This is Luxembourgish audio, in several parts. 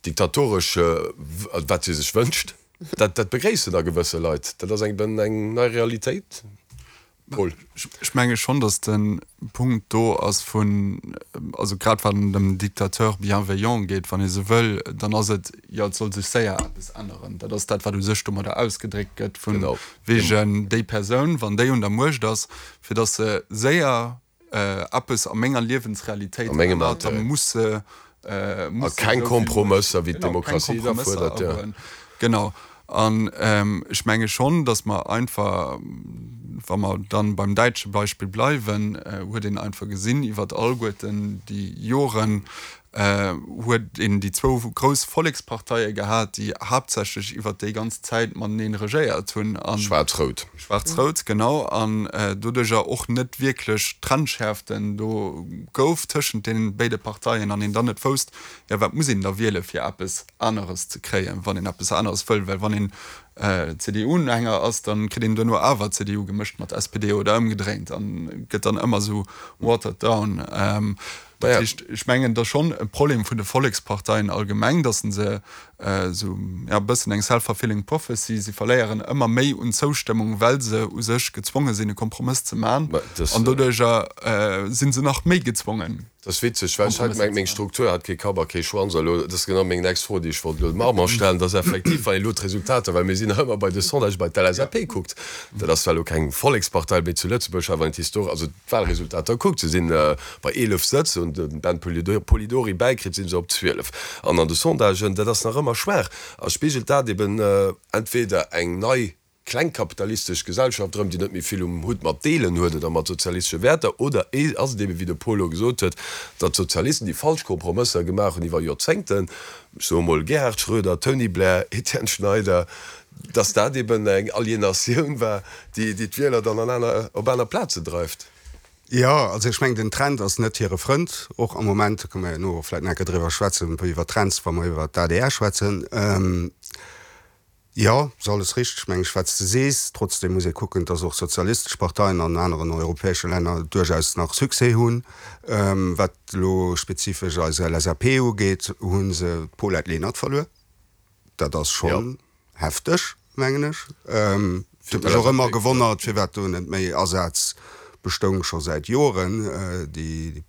diktatoresch, wat si sech wënscht, dat dat begréissen da gewësse Leit. Dat ass eng eng nei Realitéit. Paul. Ech menge schonn, datt de Punkt do ass vun, also grad wat an dem Dictateur bienveillant geet, wann ee sou wëll, dann ass et, jo et soll sech séier eppes änneren. Dat ass dat, wat u sech domadder ausgedréckt gëtt, vu wegen déi Persoun, wann déi un der Muecht ass, fir datt se séier eppes a menger Liewensrealitéit ännert, da muss se A keng Kompromësser, wéi d'Demokratie da fuerdert, jo. Genau. An ech menge schonn, datt mer einfach, wa mer dann beim däitsche Beispill bleiwen, huet een einfach gesinn iwwert alleguerten déi Joren, huet een déi zwou grouss Volleksparteie gehat, déi haaptsächlech iwwert déi ganz Zäit mateneen regéiert hunn. Schwaarz-Rout. Schwaarz-Rout, genau. An doduercher och net wierklech Trennschäerften do gouf tëschent deene béide Parteien an een dann net wousst, jo wat muss een da wiele fir eppes aneres ze kréien, wann een eppes aneres wëll. Well wann een CDU-Unhänger ass, da kritt een duerno awer CDU gemëscht mat SPD oder ëmgedréint an gëtt dann ëmmer esou watered down. Dat heescht, ech mengen, et ass schonn e Problem vun de Volleksparteien allgemeng, datt se esou, ja, e bëssen eng self-fulfilling prophecy, si verléieren ëmmer méi un Zoustëmmung, well se u sech gezwonge sinn, e Kompromëss ze man, an doduerjer si se nach méi gezwongen. Dat ass witzeg, well ech hat gemengt, meng Struktur hat kee Kapp a kee Schwanz. A lo, dat ass genau meng nächst Fro, déi ech wollt elo dem Armand stellen, dass effektiv, wann een elo d'Resultater, well mir sinn nach ëmmer bei de Sondagë bei d'LSAP kuckt, dat ass zwar elo keng Vollekspartei méi zu Lëtzebuerg, awer wann een d'Histor, also d'Wahlresultater kuckt, se sinn bei 11 Sëtz, hunn de Ben Polidori bäikritt, sinn se op 12. An an de Sondagen, dat ass nach ëmmer schwaach, a spigelt dat eben entweder eng nei klengkapitalistesch Gesellschaft erëm, déi net méi vill um Hutt mat Deelen huet oder mat sozialistesche Wäerter, oder ass et eben, wéi de Paul elo gesot huet, datt d'Sozialisten déi falsch Kompromësser gemaach hunn iwwer Joerzéngten, ech soe mol Gerhard Schröder, Tony Blair, Etienne Schneider, datt dat eben eng Alienatioun war, déi d'Wieler dann an aner, op aner Plaze dreift. Jo, also ech mengen, den Trend ass net hire Frënd, och am Moment. Do kënne mer jo elo vläicht nach eng Kéier driwwer schwätzen, iwwer Trends, wa mer iwwer d'ADR schwätzen. Jo, ass alles richteg, meng ech, wat s de sees. Trotzdem muss ee kucken, dass och sozialistesch Parteien an aneren europäesche Länner duerchaus nach Succès hunn. Wat elo spezifesch eis LSAP ugeet, hu se d'Paulette Lenert verluer. Dat ass schonn hefteg, mengen ech. Et huet mech och ëmmer gewonnert, firwat do net méi Asaz bestoung, scho säit Joren, déi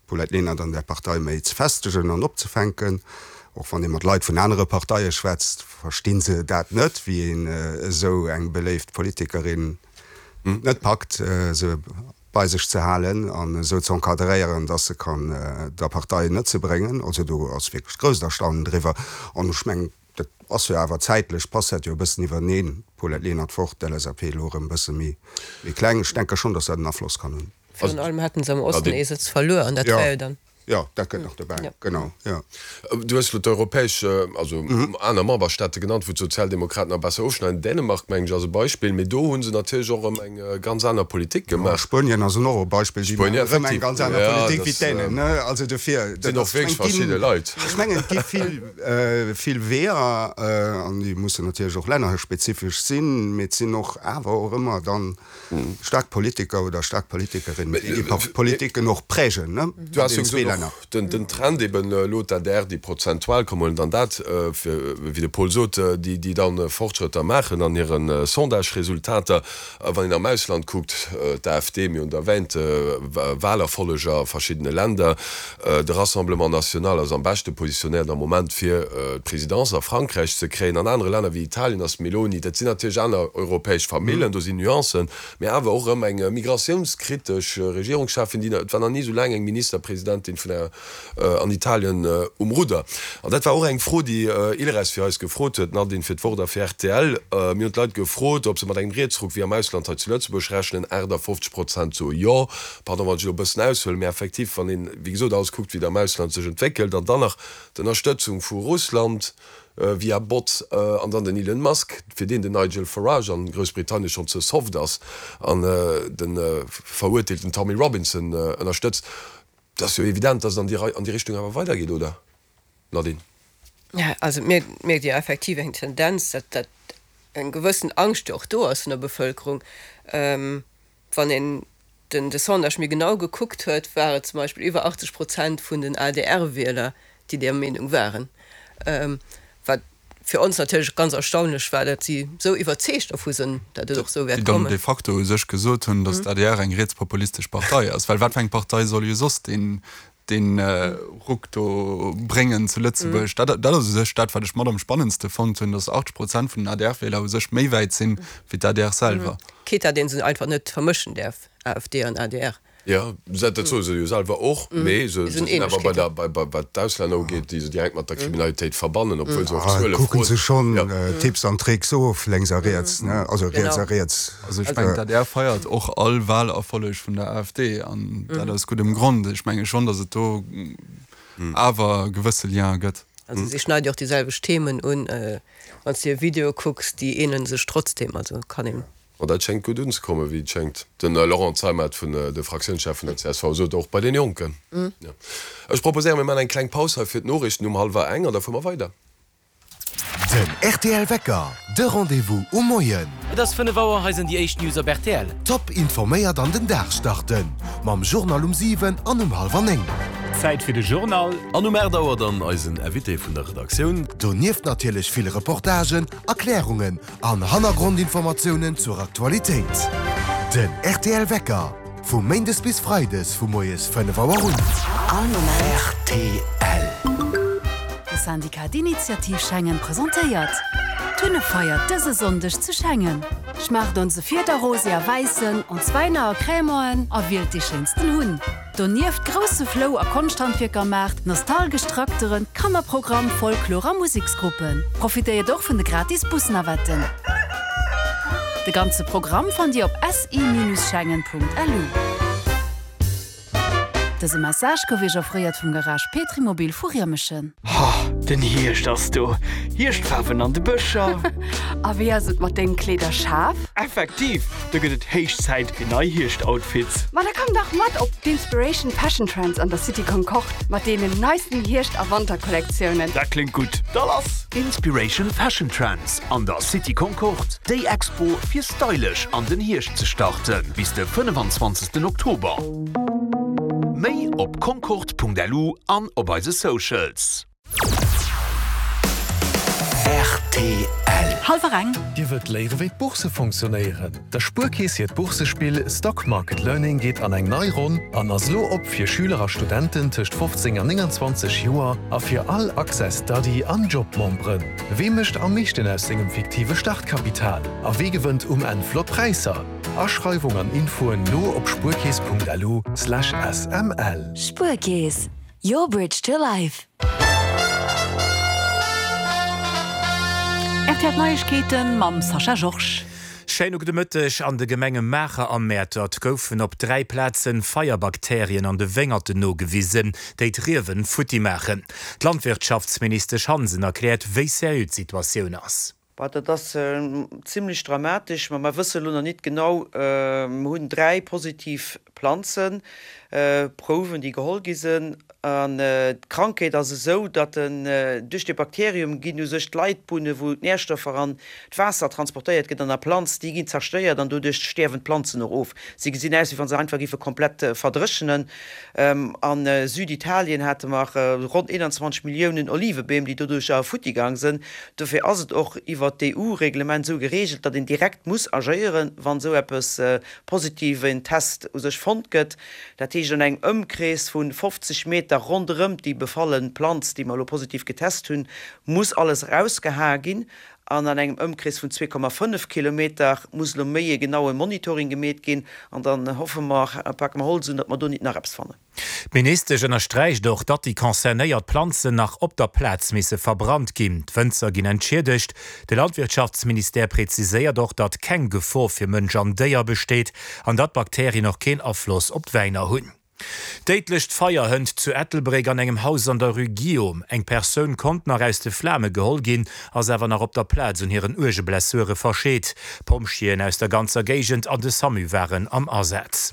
Paulette Lenert an där Partei méi ze festegen an opzefänken. Och wann ee mat Leit vun anere Parteie schwätzt, versti se dat net, wéi een esou eng beléift Politikerin net packt, se bei sech ze halen an esou ze encadréieren, dass se kann der Partei Nëtze bréngen. Also do ass wierklech grousst Erstaunen driwwer. An ech mengen, dat ass jo awer zäitlech, passt dat jo e bëssen iwwerneen, Paulette Lenert fort, d'LSAP elo erëm e bësse méi kleng. Ech denke schonn, dass dat en Afloss kann hunn. Virun allem haten se am Osten ee Sëtz verluer an dat war jo dann. Jo, dat kënnt nach dobäi, genau, jo. Du hues elo d'europäesch, also aner Memberstaate genannt, wou d'Sozialdemokraten nach besser ofschneiden. Dänemark, mengen ech, ass e Beispill, mee do hu se natierlech och erëm eng ganz aner Politik gemaach. Spuenien ass och e Beispill, déi maachen erëm eng ganz aner Politik wéi d'Dänen, ne? Also dofir, dat sinn och wierklech verschidde Leit. Ech mengen, et gi vill, vill Weeër an déi mussen natierlech och lännerspezifesch sinn, mee et sinn och awer och ëmmer dann Staark Politiker oder staark Politikerinnen, déi déi Politiken och prägen, ne? Du has jo gesot, och den Trend eben elo d'ADR, déi prozentual, komm huelen dann dat, wéi de Paul sot, déi déi dann Fortschrëtter maachen an hire Sondage-Resultater. Wann een am Ausland kuckt, d'AfD, mir hunn et erwähnt, Wahlerfolleger a verschiddene Länder, de Rassemblement National ass am beschte positionéiert am Moment fir d'Presidence a Frankräich ze kréien. An anere Länner wéi Italien ass d'Meloni, dat sinn natierlech aner europäesch Famillen, do sinn Nuancen, mee awer och erëm eng migratiounskritesch Regierungscheffin, déi, et war nach ni esou laang eng Ministerpresidentin vun enger, an Italien um Rudder. An dat war och eng Fro, déi Ilres fir eis gefrot huet, Nadine, fir d'Wort a fir rtl. Mir hunn d'Leit gefrot, ob se mat engem Rietsruck wéi am Ausland hei zu Lëtzebuerg rechnen. 58 Prozent soe jo. Pardon, wann ech elo e bëssen aushuelen, mä effektiv, wann een, wéi gesot, alles kuckt, wéi et am Ausland sech entwéckelt, an dann nach d'Ënnerstëtzung vu Russland via Bots an dann den Elon Musk, fir deen den Nigel Farage an Groussbritannien schonn ze soft ass an de verurteelten Tommy Robinson ënnerstëtzt, et ass jo evident, datt et an déi Rei, an déi Richtung awer weidergeet, oder, Nadine? Ja, also et mierkt ee jo effektiv eng Tendenz, datt, datt eng gewëssen Angscht jo och do ass vun der Bevëlkerung. Wann een den de Sondage méi genau gekuckt huet, war et zum Beispill iwwer 80 Prozent vun den ADR-Wieler, déi där Meenung waren. Wat fir ons natierlech ganz erstaunlech war, datt si esou iwwerzeegt dervu sinn, datt et och esou wäert Déi dann kommen. de facto u sech gesot hunn, datt d'ADR eng rietspopulistesch Partei ass. Well wat fir eng Partei soll jo soss deen, dee Ruck do bréngen zu Lëtzebuerg? Dat, dat ass u sech dat, wat ech mat am spannendste fonnt hunn, datt 80 Prozent vun den ADR-Wieler u sech méi wäit sinn, wéi d'ADR selwer. Quitte datt ee se einfach net vermëschen däerf, AfD an adr. Jo, dat soe se jo selwer och, mee se sinn awer bei der, bei, wat d'Auslänner ugeet, déi se direkt mat der Kriminalitéit verbannen, obwuel se och Zuele froen. Kucke se schonn Tipps an Tricks of, lénks a riets, ne? Also riets a riets. Also ech mengen, d'ADR feiert och all Wahlerfolleg vun der AfD, an dat aus guddem Grond. Ech menge schonn, datt et do awer gewësse Lien gëtt. Also si schneide jo och déi selwecht Themen un. Wann s de hir Videoe kucks, déi ähnele sech trotzdem, also kann een. Ma dat schéngt gutt unzekommen, wéi et schéngt. De Laurent Zeimet vun de Fraktiounschef vun der csv sot, och bei den Jonken. Ech proposéieren, mir maachen eng kleng Paus hei fir d'Noriichten um hallwer eng an da fuere mer weider. Den rtl Wecker, de Rendez-vous um Moien. Et ass 5 Auer, hei sinn déi éischt News op rtl. Top informéiert an den Dag starten mam Journal um 7 an um hallwer 9. Zäit fir de Journal. An um 8 Auer dann eisen Invité vun der Redaktioun. Donieft natierlech vill Reportagen, Erklärungen An Hannergrondinformatiounen zur Aktualitéit. Den rtl Wecker, vu Méindes bis Freides vu moies 5 Auer un. All Moment. Rtl. De Syndicat d'Initiative Schengen presentéiert d'Hunnefeier dëse Sonndeg zu Schengen. Schmaacht onse Fiederrosé a Wäissen, ons Wäiner a Crémanten a wielt dee schéinsten Hunn. Donieft grousse Flou a Konschthandwierkermaart, nostalgesch Trakteren, Kannerprogramm, Folklor a Museksgruppen. Profitéiert och vun de gratis Busnavetten. De ganze Programm fannt Dir op si-schengen.lu. Dëse Message gouf Iech offréiert vum Garage Petrimobil vu Riemeschen. Ha, den Hierscht ass do! Hierschtfaarwen an de Bëscher! A wéi ass et mat dengem Kleederschaf? Effektiv, do gëtt et héich Zäit fir nei Hierscht-Outfits! Ma da komm dach mat op d'Inspiration Fashion Trends an der City Concorde mat deenen neisten Hierscht a Wanterkollektiounen! Dat kléngt gutt, da lass! Inspiration Fashion Trends an der City Concorde, déi Expo fir stylesch an den Hierscht ze starten, bis de 25 Oktober. Méi op concorde.lu an op eise Socials. Rtl. Hallwer eng. Dir wëllt léiere wéi d'Bourse fonctionnéieren? Der Spuerkeess hiert Boursespill Stock Market Learning geet an eng nei Ronn an ass elo op fir Schüler a Studenten tëscht 15 an 29 Joer a fir all Access Study an Job-Memberen. Wee mécht am meeschten aus sengem fiktive Startkapital a wee gewënnt um Enn flott Präisser? Aschreiwung an Infoen lo op spuerkeess.lu/sml. Spuerkeess, your bridge to life. Rtl Neiegkeeten mam Sascha Georges. Schéine gudde Mëtteg. An de Gemenge Maacher a Mäertert goufen op 3 Plazen Feierbakterien an de Wéngerten nogewisen, déi d'Riewen futti maachen. D'Landwirtschaftsministesch Hansen erkläert, wéi seriö d'Situatioun ass. Bah, dat ass zimlech dramatesch, ma mer wësse lo nach nit genau. Mer hunn 3 positiv Planzen, Prouwen, déi geholl gi sinn. An d'Krankheet ass esou, datt en duerch dee Bakterium ginn u sech d'Leitbunne wou d'Närstoffer an d'Waasser transportéiert gëtt an der Planz, déi ginn zerstéiert an doduerch stäerwen d'Planzen och of. Si gesinn aus, wéi wa se einfach géife komplett verdréchenen. A Süditalien hate mer ronn 21 Milliounen Olivebeem, déi doduercher futti gaang sënn. Dofir ass et och iwwert d'EU-Reglement esou geregelt, datt een direkt muss agéieren, wann esou eppes positiv, en Test u sech fonnt gëtt. Dat heescht an engem Ëmkrees vu 50 Meter ronderëm déi befalle Planz, déi mer elo positiv getest hunn, muss alles erausgehae ginn. An an engem Ëmkrees vun 2,5 Kilometer muss elo méi e genaue Monitoring gemeet ginn. An dann hoffe mer, pake mer Holz un, datt mer do nit nach eppes fannen. D'Ministesch ënnersträicht och, datt déi concernéiert Planzen nach op der Plaz misse verbrannt ginn. D'Wënzer ginn entschiedegt. De Landwirtschaftsministère präziséiert och, datt keng Gefor fir Mënsch an Déier besteet an datt d'Bakterien och keen Afloss op d'Wäiner hunn. Déidlecht Feier hënt zu Ettelbréck an engem Haus an der Rue Guillaume. Eng Persoun konnt nach aus de Flame geholl ginn, ass awer nach op der Plaz un hiren uerge Blessure verscheet. Pompjeeën aus der ganzer Géigend an de Samu waren am Asaz.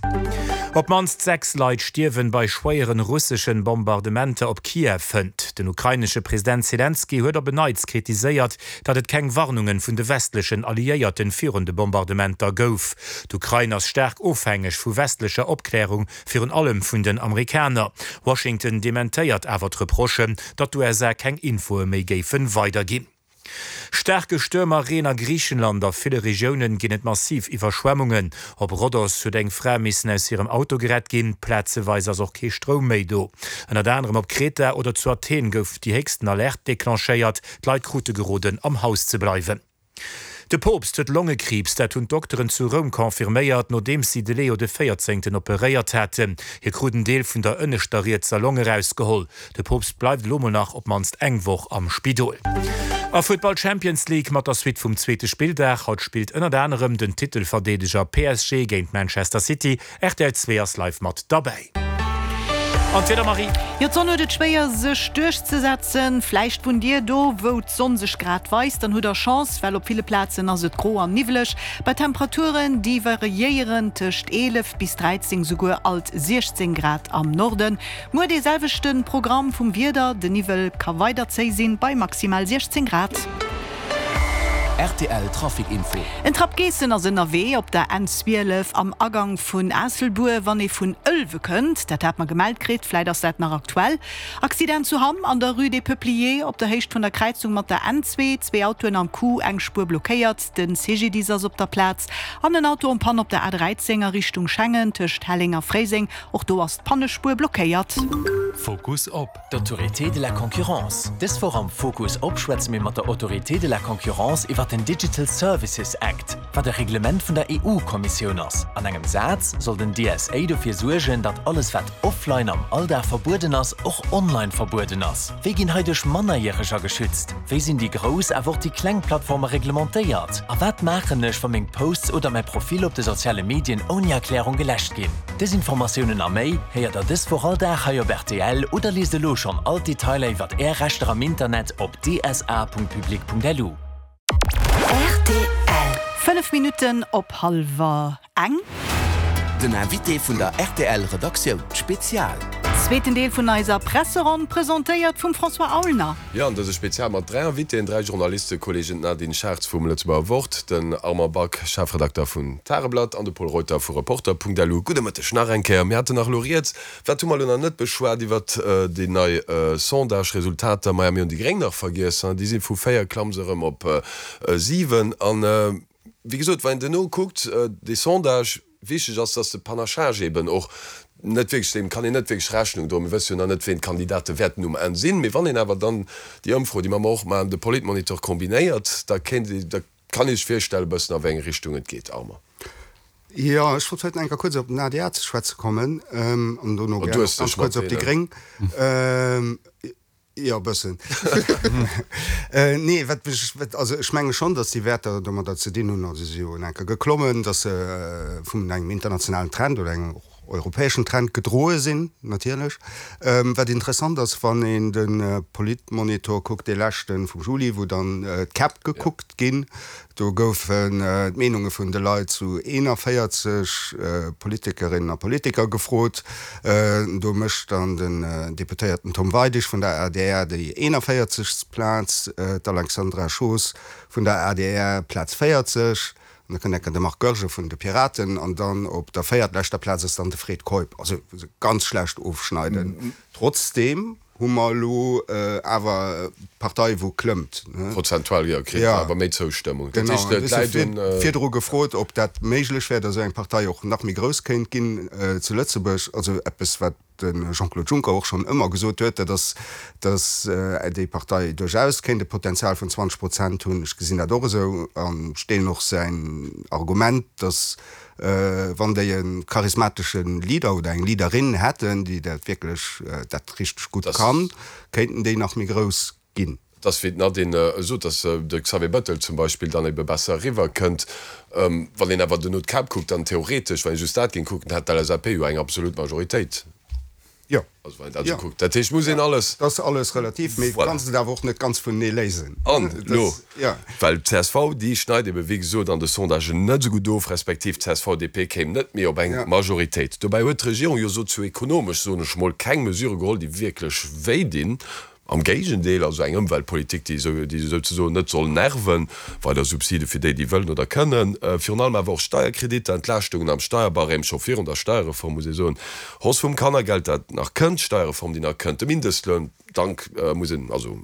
Op d'mannst 6 Leit stierwen bei schwéieren russeschen Bombardementer op Kiew hënt. Den ukrainesche President Selenskyj huet op en Neits kritiséiert, datt et keng Warnungen vun de westlechen Alliéierten virun de Bombardementer gouf. D'Ukrain ass staark ofhängeg vu westlecher Opklärung, virun allem. allem vun den Amerikaner. Washington dementéiert awer d'Reprochen, datt d'USA keng Infoe méi géifen weiderginn. Staarke Stuerm a Reen a Griichenland, A ville Regiounen ginn et massiv Iwwerschwemmungen. Op Rhodos huet eng Fra missen aus hirem Auto gerett ginn. Plazeweis ass och kee Stroum méi do. Ënnert anerem op Kreta oder zu Athen gouf déi héchsten Alerte declenchéiert. D'Leit krute geroden, am Haus ze bleiwen. De Poopst huet Longekriibs, dat hunn d'Dokteren zu Roum confirméiert, nodeems si de Leo de Véierzéngten operéiert haten. Hie krut en Deel vun der ënneschter rietser Long erausgeholl. De Poopst bleift elo mol nach op d'mannst eng Woch am Spidol. A Futtball Champions League mat der Suite vum zweete Spilldag. Haut spillt ënnert anerem den Titelverdeedeger PSG géint Manchester City. Rtl 2 ass live mat derbäi. An d'Wieder, Marie? Jo, d'Sonn huet et schwéier sech duerchzesetzen. Vläicht wunnt Dir do, wou d'Sonn sech grad weist, dann hutt der Chance, well op ville Plazen ass et gro an niwweleg, bei Temperaturen, déi variéieren tëscht 11 bis 13, souguer alt 16 Grad am Norden. Muer dee selwechte Programm vum Wieder, de Niwwel ka weider zéi sinn, bei maximal 16 Grad. Rtl Trafic Info. En Trapp Geessen ass ënnerwee op der N 12 am Agang vun Aasselbuer, wann ee vun Ëlwe kënnt. Dat hat mer gemellt kritt, vläit ass dat nach aktuell. Accident zu Hamm an der Rue des Peupliers op der Héicht vun der Kräizung mat der N2, zwee Autoen am Coup, eng Spuer blockéiert, de CGDIS ass op der Plaz. An en Auto en panne op der A13 a Richtung Schengen tëscht Helleng a Fréiseng, och do ass d'Pannespuer blockéiert. Fokus op. D'Autorité de la concurrence. Dës Woch am Fokus op schwätze mir mat der Autorité de la concurrence iwwer den Digital Services Act, wat e Reglement vun der EU-Kommissioun ass. An engem Saz soll den DSA dofir suergen, datt alles wat offline am Alldag verbueden ass, och online verbueden ass. Wéi ginn heiduerch Mannerjäreger geschützt? Wéi sinn déi grouss awer och déi kleng Plattforme reglementéiert? A wat maachen ech, wa meng Posts oder mäi Profil op de soziale Medien ouni Erklärung geläscht ginn? Dës Informatiounen a méi héiert der dës Woch all Dag hei op rtl oder liest elo schonn all d'Detailer iwwert Är Rechter am Internet op dsa.public.lu. Rtl. 5 Minutten op hallwer eng. Den Invité vun der rtl Redaktioun, Spezial. Zweeten Deel vun eiser Presseronn, presentéiert vum François Aulner. Jo, an dëse Spezial mat 3 Invitéen, 3 Journalistekolleegen, d'Nadine Schartz vum Lëtzebuerger Wort, den Armand Back, Chefredakter vun Tageblatt an de Pol Reuter vu Reporter.lu. Gudde Mëtteg nach eng Kéier. Mir haten nach elo rieds, wat hu mer elo nach net beschwat iwwert déi nei Sondage-Resultater? Maja, mir hunn déi Gréng nach vergiess, déi si vu 4 klamme se erëm op 7. An wéi gesot, wann een duerno kuckt, dee Sondage, Wichteg ass, dass de Panachage eben och net wierklech, deem kann een net wierklech Rechnung droen. Mir wësse jo nach net, ween d'Kandidate wäerten um Enn sinn. Mee wann een awer dann déi Ëmfro, déi mer mer och maachen, de Politmonitor kombinéiert, da kéint ee, da kann ee sech virstellen e bëssen, a wéi eng Richtung et geet. Armand. Jo, ech wollt vläicht nach eng Kéier kuerz op den ADR ze schwätze kommen an dono gär och ganz kuerz op déi Gréng. Jo, e bëssen. Nee, wat mech, wat, also ech menge schonn, datt déi Wäerter domadder ze dinn hunn, also si jo en enker geklommen, datt se vun engem internationalen Trend oder engem och europäeschen Trend gedroe sinn, natierlech. Wat interessant ass, wann een de Politmonitor kuckt, dee leschte vum Juli, wou dann d'Käpp gekuckt ginn, Do goufen d'Meenunge vun de Leit zu 41 Politikerinnen a Politiker gefrot. Do mécht dann den Deputéierten Tom Weidig vun der adr déi 41. Plaz, d'Alexandra Schoos vun der adr Plaz 40, an da kënnt enker de Marc Goergen vun de Piraten an dann op der véiertleschter Plaz ass dann de Fred Keup. Also ganz schlecht ofschneiden. Trotzdeem hu mer elo awer d'Partei wou klëmmt. Prozentual jo, kritt awer méi Zoustëmmung. Dat heescht, d'Leit hunn. Virdru gefrot, ob dat méiglech wär, datt esou eng Partei och nach méi grouss kéint ginn zu Lëtzebuerg. Also eppes, wat de Jean-Claude Juncker och schonn ëmmer gesot huet, dat ass, datt déi Partei duerchaus kéint e Potenzial vun 20 Prozent hunn. Ech gesinn dat och esou an ech deelen och säin Argument, datt Wann déi e charismatesche Leader oder eng Leaderin hätten, déi dat wierklech dat richteg gutt kann, kéinten déi nach méi grouss ginn. Et ass wéi d'Nadine sot, datt de Xavier Bettel zum Beispill dann ebe besser eriwwer kënnt. Wann een awer duerno d'Käpp kuckt, dann theoretesch, wann ee just dat géing kucken, hätt d'LSAP jo eng absolut Majoritéit. Jo. Also wann een dat esou kuckt. Dat heescht, muss een alles. Dat ass alles relativ, mee du kanns et awer och net ganz vunenee léisen. An elo, well d'CSV, déi schneit ebe wéi gesot an de Sondagen net esou gutt of, respektiv d'CSV-DP kéim net méi op eng Majoritéit. Dobäi huet d'Regierung jo sozioekonomesch, soen ech mol, keng Mesure geholl, déi wierklech wéi dinn. Am Géigendeel, also eng Ëmweltpolitik, déi esou, déi souzesoen net soll nerven, weider Subside fir déi, déi wëllen oder kënnen, virun allem awer och Steierkreditter, Entlaaschtungen am Steierbarème, scho virun der Steierreform, muss ee soen, Hausse vum Kannergeld, dat nach kënnt, Steierreform, déi nach kënnt, de Mindestloun, dank muss een, also.